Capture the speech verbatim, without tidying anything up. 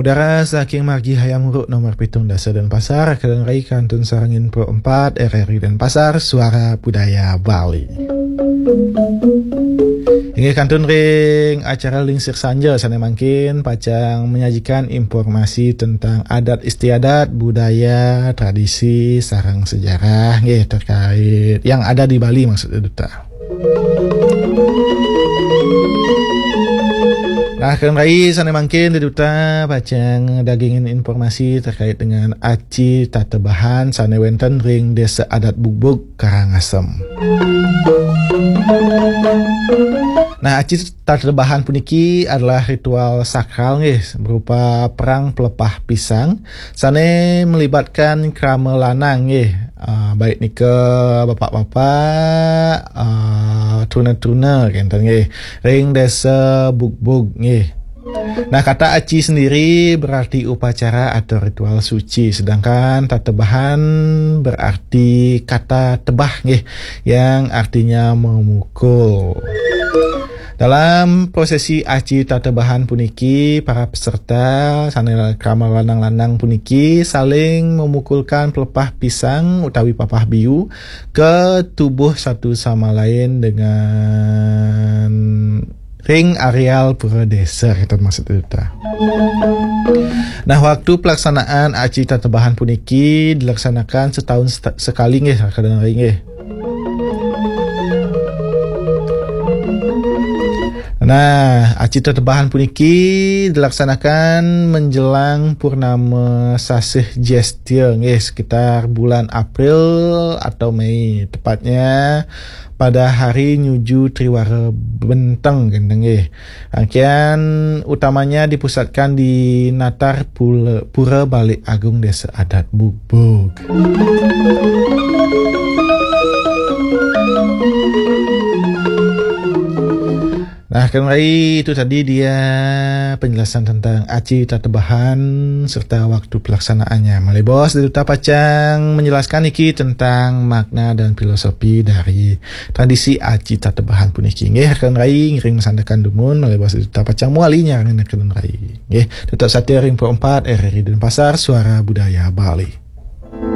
Acara saking margi Hayam Wuruk nomor pitung dasa Denpasar, kalian rai kantun sareng Info empat R R I Denpasar, Suara Budaya Bali. Inggih kantun ring acara Lingsir Sanja sane mangkin pacang menyajikan informasi tentang adat istiadat, budaya, tradisi, sareng sejarah nggih terkait yang ada di Bali maksudnya duta. Nah, kalian rai sane mangkin duta pacang dagingin informasi terkait dengan aci tatebahan sane wenten ring Desa Adat Bugbug, Karangasem. Nah, aci tatebahan puniki adalah ritual sakral nggih berupa perang pelepah pisang sane melibatkan krama lanang nggih, ah, baik nika bapak-bapak, ah, truna-truna kenten nggih ring Desa Bugbug nggih. Nah, kata aci sendiri berarti upacara atau ritual suci, sedangkan tatebahan berarti kata tebah nggih, yang artinya memukul. Dalam prosesi aci tatebahan puniki, para peserta sane krama lanang-lanang puniki saling memukulkan pelepah pisang utawi papah biu ke tubuh satu sama lain dengan ring areal pura desa, kita maksud itu. Nah, waktu pelaksanaan aci tatebahan puniki dilaksanakan setahun seta- sekali nggih, kadang hari nggih. Nah, aci tetebahan puniki dilaksanakan menjelang purnama sasih Jestya nggih, sekitar bulan April atau Mei, tepatnya pada hari nyuju Triwara Benteng kenten nggih. Rangkaian utamanya dipusatkan di Natar Pula- Pura Balik Agung Desa Adat Bugbug. Nah, kalian rai, itu tadi dia penjelasan tentang aci tatebahan serta waktu pelaksanaannya. Malih bos, duta pacang menjelaskan iki tentang makna dan filosofi dari tradisi aci tatebahan puniki. Nggih, kalian rai ngiring masandekan dumun, malih bos duta pacang muali nyarengin kalian rai. Nggih, tetap setia ring Pro empat R R I Denpasar, Suara Budaya Bali.